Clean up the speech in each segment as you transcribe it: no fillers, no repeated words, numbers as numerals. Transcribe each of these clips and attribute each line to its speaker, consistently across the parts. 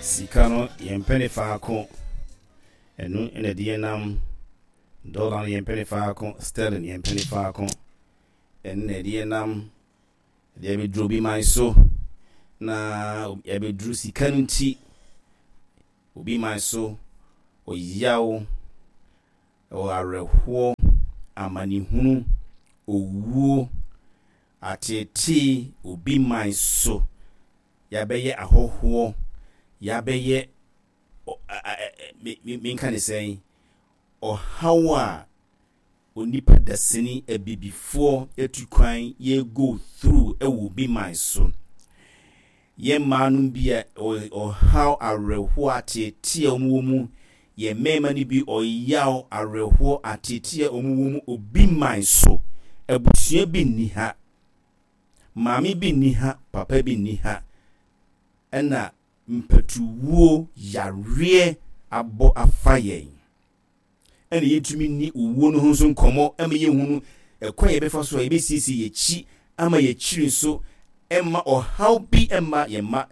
Speaker 1: Sika no yɛmpɛ ne faako. Ɛno na ɛde yɛn nam. Dollar no yɛmpɛ ne faako, sterling yɛmpɛ ne faako. Ɛno na ɛde yɛn nam. Ɛde abɛduru obi man so. Na ɛbɛduru sika no nti, obi man so, ɔyaw, awerɛhoɔ, amanehunu, owuo, ateetee obi man so. Yɛabɛyɛ ahɔhoɔ, yɛabɛyɛ menka ne sɛn, ɔhaw a onipa dasani abibifoɔ atu kwan yɛ go through wɔ obi man so. Yɛn mmaa nom bi a ɔhaw awerɛhoɔ ateetee a wɔn wɔ mu, yɛn mmarima no bi ɔyaw awerɛhoɔ ateetee a wɔn wɔ mu obi man so. Abusua bi nni ha, maame bi nni ha, papa bi nni ha, ɛna mpatuwuo yareɛ abɔ afa yɛn. Ɛna yɛntumi nni owuo no ho nso nkɔmmɔ ma yɛnhunu ɛkwan a yɛbɛfa so a yɛbɛsiesie yɛn akyi ama yɛn akyiri nso mma ɔhaw bi mma yɛn mma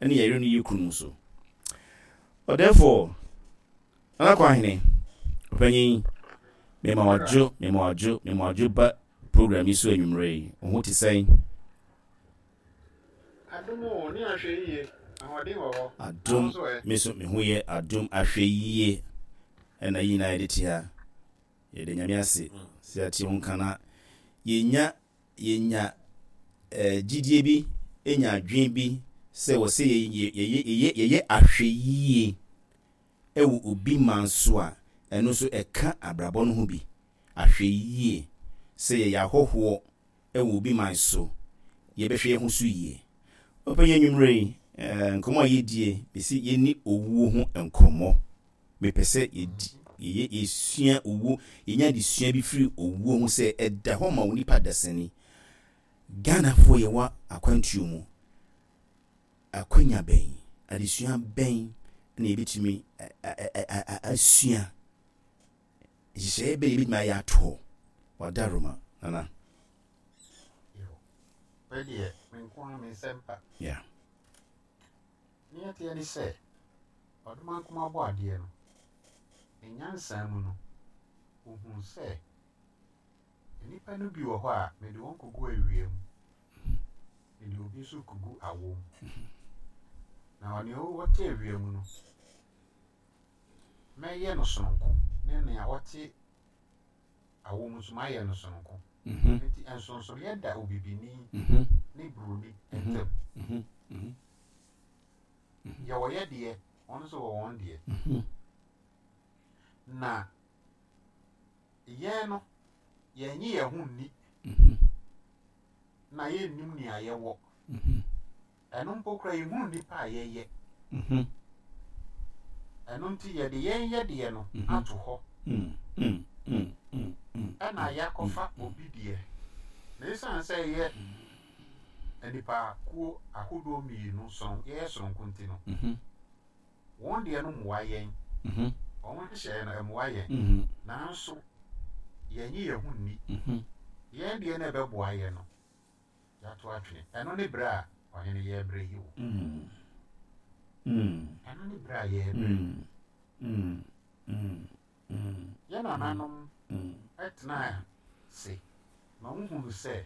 Speaker 1: ne yɛn yere ne yɛn kununom so. Ɔdɛɛfoɔ Nana Kwahene, ɔpanyin, mema wadwo, mema wadwo, mema wadwo ba program yi so anwummerɛ yi. Wo ho te sɛn?
Speaker 2: Adom o, ne ahwɛyie, ahoɔden wɔ hɔ.
Speaker 1: Adom,
Speaker 2: Na wo nso ɛ?
Speaker 1: me nso me ho yɛ adom ahwɛyie ɛna yi nyinaa yɛde te ha. Yɛda Nyame ase sɛ yɛate ho nka na yɛnya yɛnya eh, gyidie bi, ɛnya adwene bi sɛ wɔ sɛ yɛyɛ yɛyɛ yɛyɛ ahwɛyie ɛwɔ obi man so a, ɛno nso ɛka abrabɔ no ho bi. Ahwɛyie sɛ yɛyɛ ahɔhoɔ wɔ obi man so, yɛbɛhwɛ yɛn ho so yie. Ɔpanyin anwummerɛ yi, nkɔmmɔ a yɛdie, mese yɛnni owuo ho nkɔmmɔ. Mepɛ sɛ yɛdi, yɛyɛ, yɛsua owuo, yɛnya adesua bi firi owuo ho sɛ ɛda hɔ ma onipa dasani. Ghanafoɔ yɛwɔ akwantuo mu, akwanya bɛn, adesua bɛn na yɛbɛtumi asua? Nhyehyɛeɛ bɛn na yɛbɛtumi ayɛ ato hɔ? Wadaroma, Nana.
Speaker 2: Yo, wei deɛ me nko ara me nsɛm pa.
Speaker 1: Yeah.
Speaker 2: Nea ɛteɛ ne sɛ, Ɔdomankoma Ɔbɔadeɛ no, ne nyansa mu no, ɔhuu sɛ nnipa no bi wɔ hɔ a, mede wɔn kɔgu awia mu, mede obi nso kɔgu awɔ mu. Na nea ɔte awia mu no, mɛyɛ no sononko, ne nea ɔte awɔ mu nso mayɛ no sononko. Enti nsonsonoeɛ da obibini ne buroni ntam. Yɛwɔ yɛ deɛ, wɔn nso wɔ wɔn deɛ. Na yɛn no, yɛnnye yɛn ho nni, na yɛnnim nea yɛwɔ. Ɛno mpo koraa yɛhunu nnipa a yɛyɛ. Ɛno nti yɛde yɛn yɛdeɛ no ato hɔ ɛna yɛakɔfa obi deɛ. Na ɛsiane sɛ yɛyɛ nnipakuo ahodoɔ mmienu soron yɛyɛ soronko nti no, wɔn deɛ no mmoa yɛn. Wɔn nhyehyɛeɛ no ɛmmoa yɛn. Nanso yɛnnye yɛn ho nni. Yɛn deɛ no a ɛbɛboa yɛn no, yɛato atwene. Ɛno ne berɛ a ɔhene yɛrebrɛ yi o. Ɛno ne berɛ a yɛrebrɛ yi. Yɛn nananom tenaa ase ma wohunuu sɛ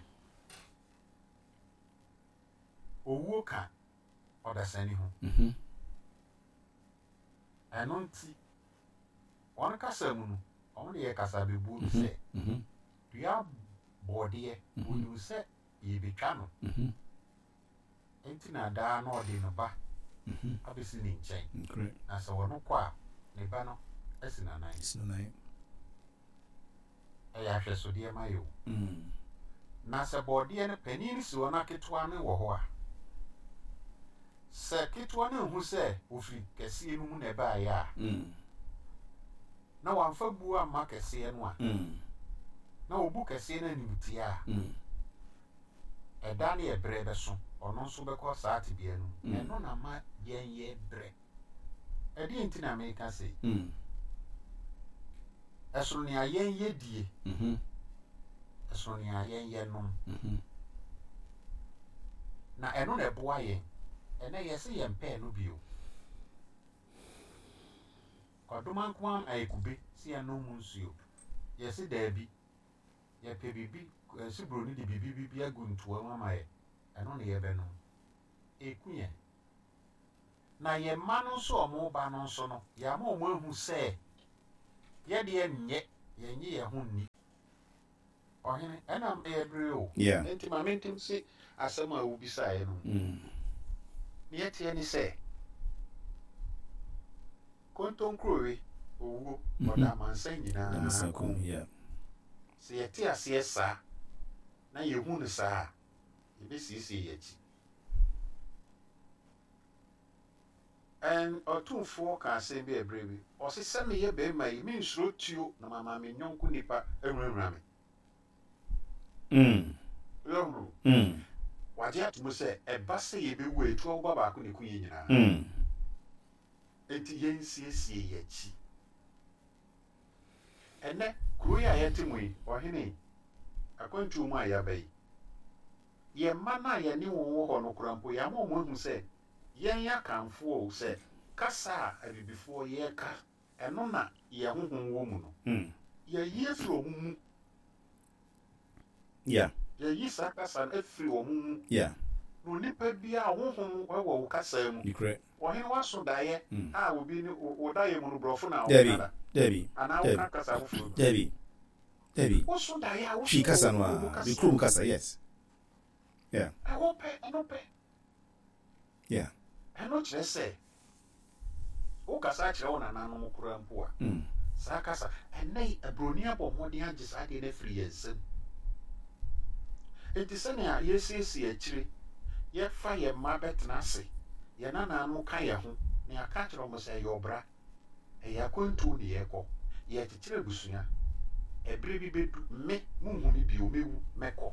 Speaker 2: owuo ka ɔdasani ho. Ɛno nti, wɔn kasa mu no, wɔde yɛ kasabebuo bi sɛ, Dua bɔɔdeɛ, ɔnim sɛ yɛrebɛtwa no, enti na daa na ɔde ne ba abɛsi ne nkyɛn, na sɛ ɔno kɔ a, ne ba no asi n'anan. Ɛyɛ ahwɛsodeɛ ma yɛ o. Na sɛ bɔɔdeɛ no panin no si hɔ na ketewa no wɔ hɔ a, sɛ ketewa no nhu sɛ ɔfiri kɛseɛ no mu na ɛbaeɛ a, na wamfa buo amma kɛseɛ no a, na ɔbu kɛseɛ no animtia a, ɛda ne ɛberɛ bɛso, ɔno nso bɛkɔ saa tebea no mu. Ɛno na ma yɛn yɛ brɛ. Ɛdeɛn nti na meka sei? Ɛsono nea yɛn yɛ die, ɛsono nea yɛn yɛ nom. Na ɛno na ɛboa yɛn. Ɛnɛ yɛse yɛmpɛɛ no bio. Ɔdomankoma ama yɛ kube sɛ yɛnnom mu nsuo. Yɛse daabi. Yɛpɛ biribi, yɛse buroni de biribi bi agu ntoa mu ama yɛ, ɛno na yɛbɛnom. Ɛku yɛn. Na yɛn mma no nso a wɔreba no nso no, yɛama wɔahu sɛ yɛdeɛ nyɛ, yɛnnye yɛn ho nni. Ɔhene, ɛna ɛyɛ bere o.
Speaker 1: Yeah.
Speaker 2: Enti ma mente nse asɛm a wobisaeɛ no mu. Nea ɛteɛ ne sɛ, kontonkurowe, owuo, ɔda amansan nyinaa kɔn mu.
Speaker 1: Yeah.
Speaker 2: Sɛ yɛte aseɛ saa na yɛhu no saa a, yɛbɛsiesie yɛn akyi. Ɛn, Ɔtumfoɔ kaa asɛm bi ɛberɛ bi, ɔse, Sɛ meyɛ barima yi, mensuro tuo na mama me yɔnko nipa ahunahuna me. Woahunu? Wagye ato mu sɛ, ɛba sɛ yɛbɛwu a, etuo aboba baako na ɛku yɛn nyinaa. Enti yɛnsiesie yɛn akyi. Ɛnnɛ, kuro yi a yɛte mu yi, ɔhene, akwantuo mu a yɛaba yi, yɛn mma no a yɛne wɔn wɔ hɔ no koraa mpo, yɛama wɔn ahu sɛ Yɛn Akanfoɔ o, sɛ kasa a Abibifoɔ yɛka, ɛno na yɛn honhom wɔ mu no, yɛayi afiri wɔn mu. Yɛayi saa kasa no afiri wɔn mu. Na onipa biara, honhom wɔ wo kasa mu. Ɔhene w'aso daeɛ a obi ne wo daeɛ mu no, borɔfo na woka da? Anaa woka kasa foforɔ bi? Woso daeɛ a, woso
Speaker 1: Twi kasa no
Speaker 2: wɔ wo
Speaker 1: a,
Speaker 2: kasa
Speaker 1: me kurom
Speaker 2: mu.
Speaker 1: kasa, yes. Yeah.
Speaker 2: Ɛhɔ pɛ, ɛno pɛ.
Speaker 1: Yeah.
Speaker 2: Ɛno kyerɛ sɛ wokasa kyerɛ wo nananom koraa mpo a, saa kasa, ɛnnɛ yi aburoni abɔ mmɔden agye saa adeɛ no afiri yɛn nsam. Enti sɛnea yɛsiesie akyire, yɛfa yɛn mma bɛtena ase, yɛn nananom ka yɛn ho, na yɛaka akyerɛ wɔn sɛ ɛyɛ ɔbra, ɛyɛ akwantuo na yɛrekɔ, yɛrekyekyere abusua, ɛberɛ bi bɛdu, me, monhu me bio, mɛwu, mɛkɔ.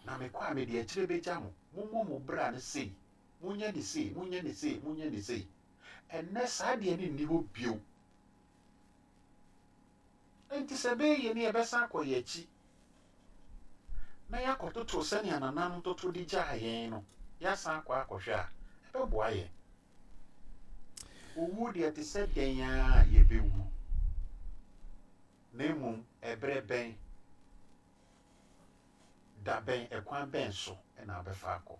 Speaker 2: Na mekɔ a, mede akyire bɛgya mo. Mommɔ mo bra no sei, monyɛ no sei, monyɛ no sei, monyɛ no sei. Ɛnnɛ, saa deɛ no nni hɔ bio. Enti sɛ ɛbɛyɛ yie no, yɛbɛsan akɔ yɛn akyi na yɛakɔtoto sɛnea nananom toto de gyaa yɛn no, yɛasan akɔ akɔhwɛ a, ɛbɛboa yɛn. Owuo deɛ, ɛte sɛ dɛn ara a yɛbɛwu, na mmom ɛberɛ bɛn? Da bɛn, ɛkwan bɛn so na wobɛfa akɔ?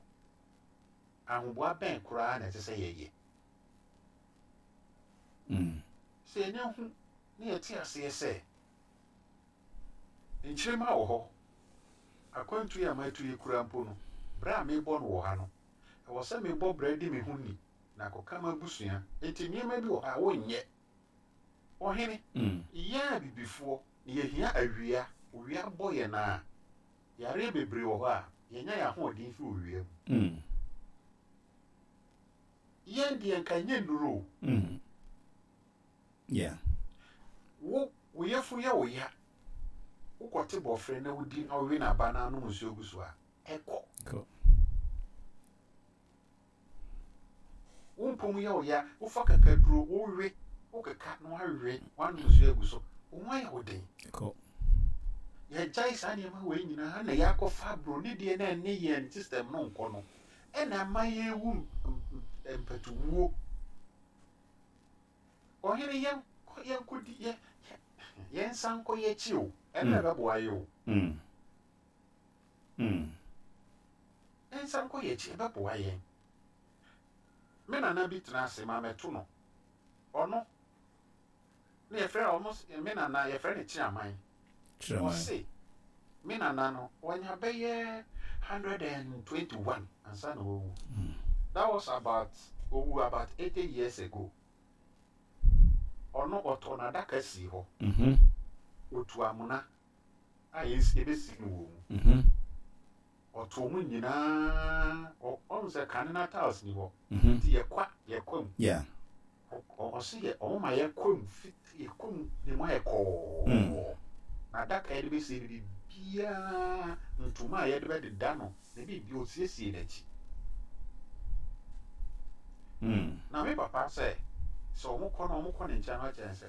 Speaker 2: Ahoboa bɛn koraa na ɛsɛ sɛ yɛyɛ? Sɛ yɛnya hu na yɛte aseɛ sɛ nkyirimma wɔ hɔ, akwantu yi a matu yi koraa mpo no, berɛ a merebɔ no wɔ ha no, ɛwɔ sɛ mebɔ bra di me ho ni na akɔka m'abusua. Enti nneɛma bi wɔ hɔ a wonyɛ. Ɔhene, yɛn Abibifoɔ, na yɛhia awia, owia bɔ yɛn a, yareɛ bebree wɔ hɔ a, yɛnya yɛn ahoɔden firi owia mu. Yɛn deɛ nka ɛnyɛ nnuro o. Wo, wo yafunu yɛ wo ya, wokɔte bɔfrɛ na wodi na wowe n'aba na anom nsuo gu so a, ɛkɔ. Wo mpɔn mu yɛ wo ya, wofa kakaduro, wowe, wokeka na woawe, woanom nsuo agu so, wo ho ayɛ wo den.
Speaker 1: Kɔ.
Speaker 2: Yɛagyae saa nneɛma wei nyinaa na yɛakɔfa broni deɛ na ɛne yɛn system no nkɔ no, ɛna ama yɛrewu mpatuwuo. Ɔhene yɛnkɔ yɛnkɔdi yɛ yɛnsan nkɔ yɛn akyi o, ɛno na ɛbɛboa yɛ o. Yɛnsan nkɔ yɛn akyi, ɛbɛboa yɛn. Me nana bi tena ase ma mɛto no. Ɔno na yɛfrɛ ɔno me nana yɛfrɛ no Kyeaman. Ɔse me nana no ɔnya bɛyɛ 121 ansa na wawu. That was about owu about 80 years ago. Ɔno ɔtɔ n'adaka sii hɔ. Otu amona a yɛbɛsi no wɔ mu. Ɔtoo mu nyinaa, ɔhu sɛ kane na tiles ni hɔ. Nti yɛkwa, yɛkwa mu. Ɔse yɛ, ɔmo ma yɛkwa mu, fit, yɛkwa mu, ne mu ayɛ kɔɔ. Na adaka yɛde bɛsie no biribiara, ntoma a yɛde bɛdeda no, ne biribi, ɔsiesie n'akyi. Na me papa sɛ, sɛ ɔmo kɔ no, ɔmo kɔ ne nkyɛn no akyerɛ sɛ,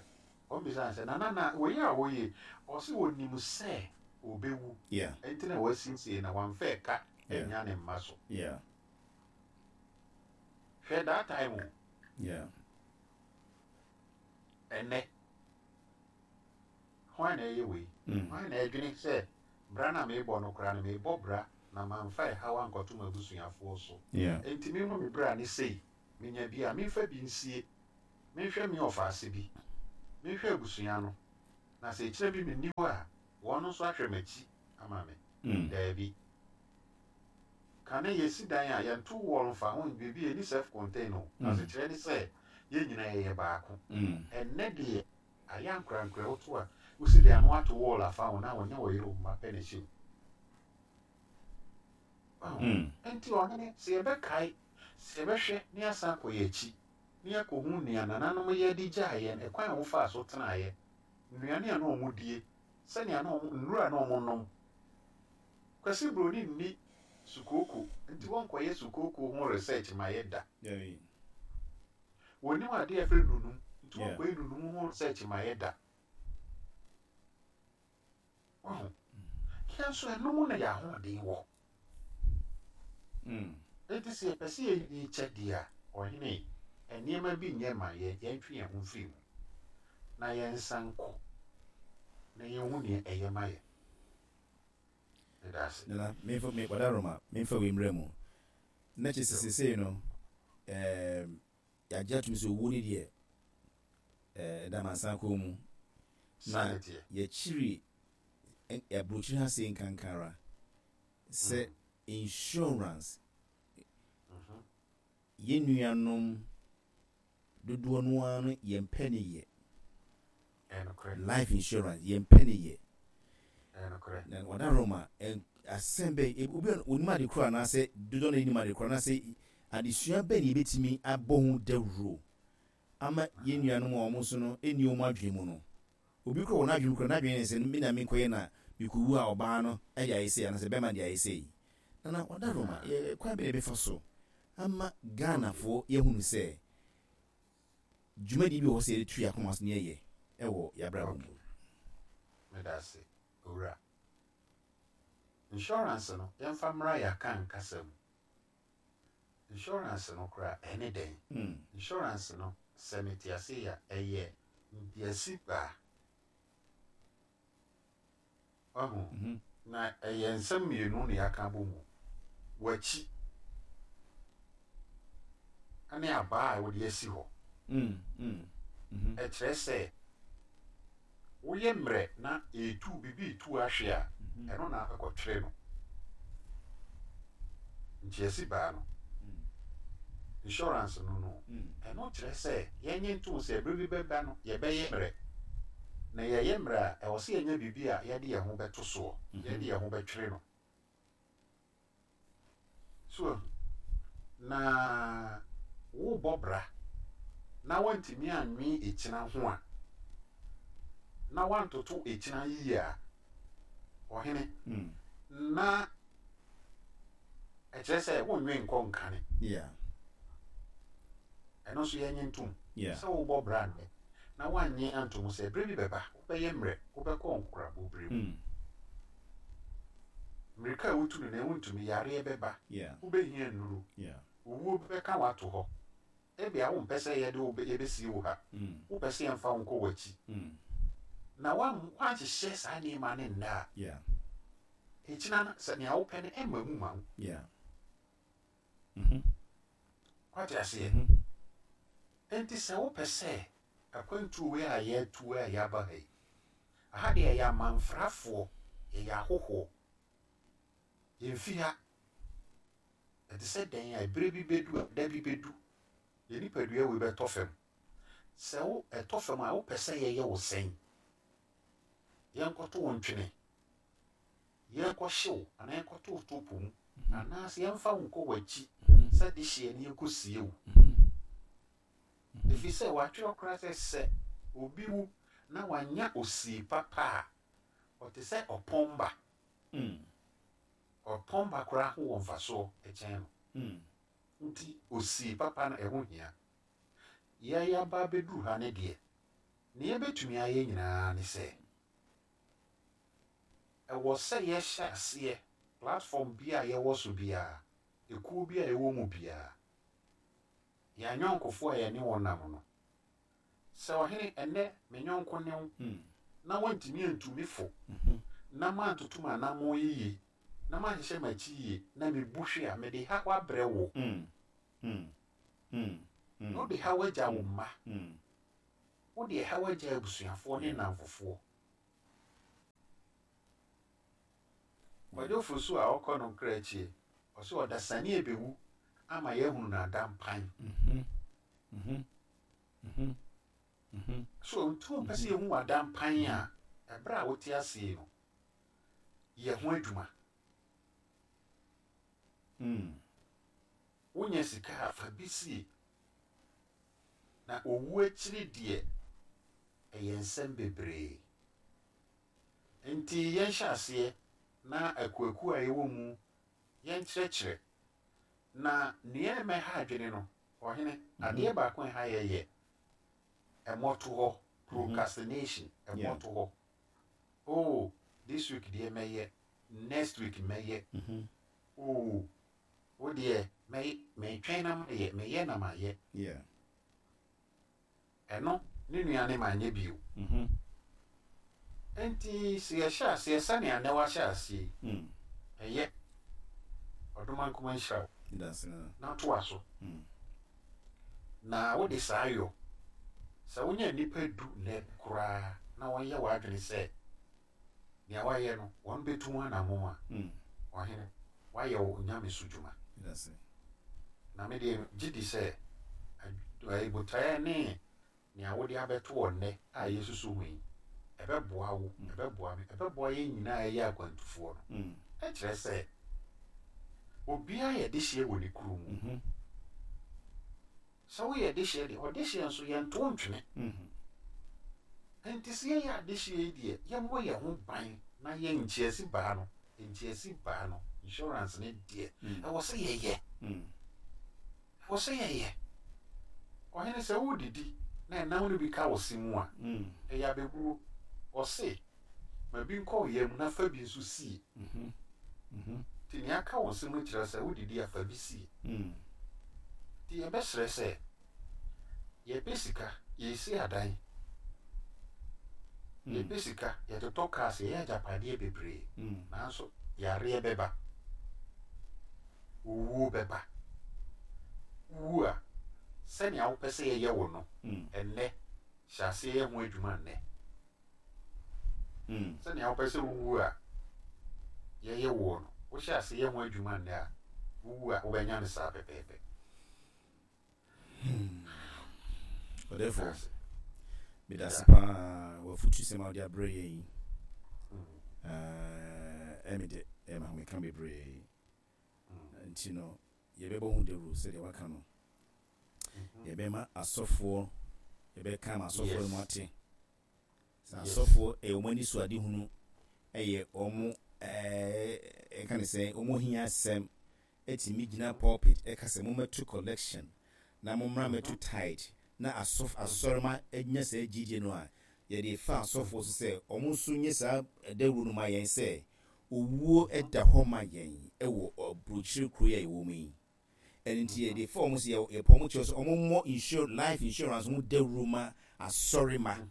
Speaker 2: ɔmo bisa no sɛ, Nana, na wei a woyɛ yi, ɔse ɔnim sɛ ɔbɛwu, ɛnti na wasiesie na wamfa ɛka annya ne mma so. Hwɛ that time o. Ɛnnɛ, hwan na ɛyɛ wei? Hwan na ɛdwene sɛ bra no a merebɔ no koraa no, merebɔ bra na mamfa ɛhaw ankɔto m'abusuafoɔ so? Enti memmɔ me bra no sei, menya bi a, memfa bi nsie, menhwɛ me ɔfaase bi, menhwɛ abusua no, na sɛ ɛkyena bi menni hɔ a, wɔn nso ahwɛ m'akyi ama me. Daabi. Kane yɛsi dan a, yɛnto wall mfa ho, baabi a ɛnni self-contain o. Asekyerɛ ne sɛ, yɛn nyinaa yɛyɛ baako. Ɛnnɛ deɛ, ayɛ ankorankorɛ, woto a, wosi dan a na woato wall afa ho na wo ne wo yere wo mma pɛ na ɛhyɛ mu. Wahu? Enti ɔhene, sɛ yɛbɛkae, sɛ yɛbɛhwɛ na yɛasan akɔ yɛn akyi, na yɛakɔhu nea nananom yɛ de gyaa yɛn, ɛkwan a wɔfaa so tenaeɛ, nnuane a na wɔdie, sɛnea na wɔn, nnuru a na wɔnom. Kwasi Broni nni sukooko nti wɔnkɔyɛ sukooko ho research ma yɛ da. Wɔnnim adeɛ a yɛfrɛ nunum nti wɔnkɔyɛ nunum ho research ma yɛ da. Wahu? Yɛn nso ɛno mu na yɛn ahoɔden wɔ. Enti sɛ yɛpɛ sɛ yɛyi kyɛ deɛ a, ɔhene, nneɛma bi nyɛ mma yɛn, yɛntwe yɛn ho mfiri mu na yɛnsan nkɔ na yɛnhu nea ɛyɛ ma yɛn. Meda ase.
Speaker 1: Nana, memfa, me, Wadaroma, memfa wei mmra mu. Na kyerɛ sɛ seesei no, ɛɛm, yɛagye atom sɛ owuo no deɛ, ɛɛ, ɛda amansan kɔn mu.
Speaker 2: Saa
Speaker 1: Na
Speaker 2: na ɛteɛ.
Speaker 1: yɛkyiri aburokyiri ha sei nkanka ara sɛ insurance, yɛn nuanom dodoɔ no ara no yɛmpɛ ne yɛ.
Speaker 2: Ɛyɛ nokorɛ.
Speaker 1: Life insurance yɛmpɛ ne yɛ.
Speaker 2: Ɛyɛ nokorɛ.
Speaker 1: Na Wadaroma, asɛm bɛn, obi a onim ade korɔ anaasɛ dodoɔ no nim ade korɔ anaasɛ adesua bɛn na yɛbɛtumi abɔ ho dawuro ama yɛn nuanom a wɔn nso no nni wɔn adwene mu no. Obi koraa wɔ n'adwene mu koraa, n'adwene ne sɛ me na menkɔyɛ na mekɔwu a ɔbaa no de ayɛ sei anaasɛ bɛrima no de ayɛ sei. Nana Wadaroma, yɛ kwan bɛn na yɛbɛfa so ama Ghanafoɔ yɛahunu sɛ dwumadie bi wɔ hɔ sɛ yɛde tu yɛn akoma so na yɛyɛ wɔ yɛn abrabɔ mu?
Speaker 2: Okay. Meda ase, Owura. Insurance no, yɛmfa mmra yɛn Akan kasa mu. Insurance no koraa, ɛne dɛn? Insurance no, sɛ mete ase yi a, ɛyɛ ntease baa. Wahu? Na ɛyɛ nsɛm mmienu na yɛaka abɔ mu. W'akyi ne abaa a wode asi hɔ. Ɛkyerɛ sɛ woyɛ mmerɛ na ɛretu, biribi retu ahwe a, ɛno na ɛkɔtwere no. Ntease baa no. Insurance no no. Ɛno kyerɛ sɛ yɛnnye ntom sɛ bere bi bɛba no yɛbɛyɛ mmerɛ. Na yɛyɛ mmerɛ a, ɛwɔ sɛ yɛnya biribi a yɛde yɛn ho bɛto soɔ, yɛde yɛn ho bɛtwere no. So wahu? Na wobɔ bra na woantumi annwen akyina ho a, na woantoto akyina yiye a, ɔhene, na ɛkyerɛ sɛ wonnwen nkɔ nkane. Ɛno nso yɛnnye ntom. Sɛ wobɔ bra nnɛ na woannye anto mu sɛ bere bi bɛba wobɛyɛ mmerɛ, wobɛkɔ nkokorabɔ bere mu. Mmirika a wotu no nnɛ wontumi, yareɛ bɛba, wobɛhia nnuru, owuo bɛka wo ato hɔ. Ebia wompɛ sɛ yɛde wo yɛbɛsie wo ha, wopɛ sɛ yɛmfa wo nkɔ w'akyi. Na woanhyehyɛ saa nneɛma no nnɛ a, ɛkyina no sɛ nea wopɛ no ɛmma mu ma wo. Woate aseɛ? Enti sɛ wopɛ sɛ akwantuo wei a yɛatu a yɛaba ha yi, aha deɛ yɛyɛ amanfrafoɔ, yɛyɛ ahohoɔ, yɛmfi ha. Ɛte sɛ dɛn a ɛberɛ bi bɛdu a, da bi bɛdu, yɛn nipadua wei bɛtɔ fam. Sɛ wo ɛtɔ fam a, wopɛ sɛ yɛyɛ wo sɛn? Yɛnkɔto wo ntwene yɛnkɔhye wo anaa yɛnkɔto wo to po mu, anaasɛ yɛmfa wo nkɔ w'akyi sɛ dehyeɛ na yɛnkɔsie wo. Ɛfiri sɛ wɔatwerɛ koraa sɛ, sɛ obi wu na wannya osie papa a, ɔte sɛ ɔpɔn ba. Ɔpɔn ba koraa ho wɔ mfasoɔ kyɛn no. Nti osie papa no, ɛho hia. Yɛn yɛaba abɛduru ha no deɛ, nea yɛbɛtumi ayɛ nyinaa ne sɛ, Ɛwɔ sɛ yɛhyɛ aseɛ, platform biara a yɛwɔ so biara, ekuo bi a yɛwɔ mu biara, yɛn ayɔnkofoɔ a yɛne wɔn nam no, Sɛ ɔhene, ɛnnɛ me yɔnko ne wo, na woantumi antu me fo, na mantoto m'anammɔn yiye, na manhyehyɛ m'akyi yiye, na mibu hwe a, mede haw abrɛ wo. Na wode haw agya wo mma. Wode haw agya abusuafoɔ ne nnamfofoɔ. Kwadwo Fosu a ɔkɔ no nkra akyie, ɔse ɔdasani ɛbɛwu ama yɛahunu no adampan. So nti wompɛ sɛ yɛhu w'adampan a, ɛberɛ a wote ase yi no, yɛ ho adwuma. Wonya sika a, fa bi sie. Na owu akyiri deɛ, ɛyɛ nsɛm bebree. Enti yɛnhyɛ aseɛ na akuakuo a yɛwɔ mu yɛnkyerɛkyerɛ. Na nea ɛma ɛha adwene no, ɔhene, adeɛ baako a ɛha yɛ yɛ mmɔtohɔ, procrastination, mmɔtohɔ. Oh, this week deɛ mɛyɛ, next week mɛyɛ. Oh, wo deɛ mɛyɛ, metwɛn na mayɛ, meyɛ na mayɛ. Ɛno ne nua ne manyɛ bio. Enti sɛ yɛhyɛ aseɛ sɛnea nnɛ woahyɛ aseɛ yi, ɛyɛ. Ɔdomankoma nhyira wo. Na toa so. Na wode saa yɔ. Sɛ wonya nnipa du nnɛ koraa na wɔyɛ w'adwene sɛ nea woayɛ no wɔbɛtu ho anammɔn a, ɔhene, woayɛ wo nyamesu dwuma. Na me deɛ megye di sɛ botaeɛ ne nea wode abɛto hɔ nnɛ a yɛresusu ho yi, ɛbɛboa wo, ɛbɛboa me, ɛbɛboa yɛn nyinaa a yɛyɛ akwantufoɔ no. Ɛkyerɛ sɛ obiara yɛ dehyeɛ wɔ ne kuro mu. Sɛ woyɛ dehyeɛ deɛ, ɔdehyeɛ nso yɛnto ntwene. Enti sɛ yɛyɛ adehyeɛ yi deɛ, yɛmmɔ yɛn ho ban na yɛn nkyeasi baa no, nkyeasi baa no, insurance no deɛ, ɛwɔ sɛ yɛyɛ. Ɛwɔ sɛ yɛyɛ. Ɔhene, sɛ woredidi na ɛnam no bi ka wo se mu a, ɛyɛ abɛbuo. Ɔse, ma bi nkɔ wo yam na fa bi nso sie. Nti nea aka wo se mu kyerɛ sɛ wodidi a, fa bi sie. Nti yɛbɛsrɛ sɛ, yɛpɛ sika, yɛresi adan, yɛpɛ sika, yɛtotɔ cars, yɛyɛ agyapadeɛ bebree, nanso yareɛ bɛba, owuo bɛba. Wowu a, sɛnea wopɛ sɛ yɛyɛ wo no, ɛnnɛ, hyɛ aseɛ yɛ ho adwuma nnɛ. Sɛnea wopɛ sɛ wuwu a yɛyɛ woɔ no, wohyɛ ase yɛ ho adwuma nnɛ a, wuwu a wobɛnya no saa pɛpɛɛpɛ.
Speaker 1: Ɔdɛfo, meda ase paa w'afotusɛm a wode abrɛ yɛn yi. Ɛme dɛ, ɛma ahomeka bebree. Nti no, yɛbɛbɔ ho dawuro sɛdeɛ waka no. Yɛbɛma asɔfoɔ, yɛbɛka ama asɔfoɔ no mu ate. Sɛ asɔfoɔ ɛyɛ wɔn ani so adehunu, ɛyɛ wɔn ɛɛ ɛka ne sɛ wɔn hia asɛm, ɛtumi gyina pulpit ɛka sɛ mommɛto collection na mommra mmɛto tithe na asɔf asɔrema anya saa gyidie no a, yɛde fa asɔfoɔ so sɛ wɔn nso nyɛ saa dawuro no ma yɛn sɛ owuo da hɔ ma yɛn wɔ aburokyire kuro yi a yɛwɔ mu yi. Ɛno nti yɛde fa wɔn sɛ yɛpɔ wɔn kyɛw sɛ wɔmmɔ insur life insurance ho dawuro ma asɔrema.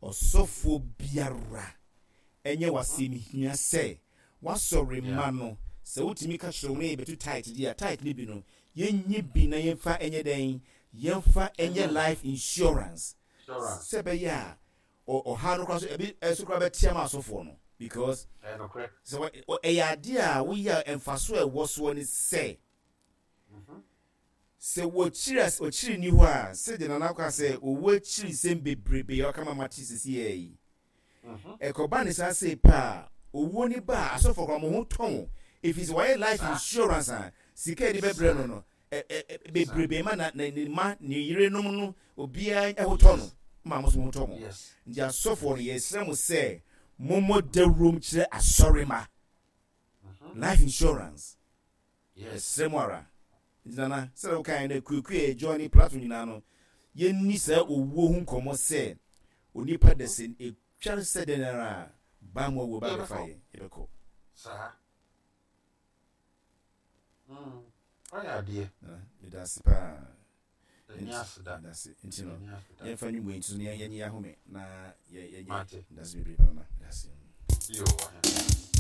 Speaker 1: Ɔsɔfoɔ biara ɛnyɛ w'asɛm hia sɛ w'asɔre mma no sɛ wotumi ka kyerɛ wɔn na yɛbɛto tithe deɛ a tithe no bi no yɛnyi bi na yɛmfa nyɛ dɛn yɛmfa nyɛ life insurance sɛ ɛbɛyɛ a ɔhaw no koraa so ebi nso koraa bɛte ama asɔfoɔ no because sɛ ɛyɛ adeɛ a woyɛ a mfaso a ɛwɔ soɔ ne sɛ sɛ wɔkyiri ɔkyiri ni hɔ a sɛdeɛ nana ka sɛ owó akyiri nsɛm bebrebe a ɔka ma mate sisi yɛ yi ɛkɔba ne saa sei paa owuo ni ba a asɔfoɔ koraa mo ho tɔ mo ɛfiri sɛ wɔayɛ life insurance a sika yɛde bɛbrɛ no no bebrebe ma na ne mma ne yerenom no obiara ho tɔ no ma mo nso mo ho tɔ mo nti asɔfoɔ no yɛsrɛ mo sɛ mommɔ dawurom kyerɛ asɔre ma life insurance yɛsrɛ mo ara nti nana sɛdeɛ wokae no akuakua yɛ join ne platform nyinaa no yɛnni saa owuo ho nkɔmmɔ sɛ onipa da sɛ ɛtware sɛ dɛn ara a baa mu awuo ba bɛfa yɛ yɛbɛkɔ
Speaker 2: saa. Mm, wayɛ adeɛ.
Speaker 1: Nana, meda ase paa.
Speaker 2: Ɛnyɛ Yɛnni aseda.
Speaker 1: Yɛda ase. Nti no,
Speaker 2: Yɛnni aseda.
Speaker 1: yɛmfa nnwom wei nto so na yɛn- yɛnyi ahome na yɛ- yɛnyɛ.
Speaker 2: Mate.
Speaker 1: Yɛda ase bebree, Papa. Yɛda ase.
Speaker 2: Yo, ɔhene.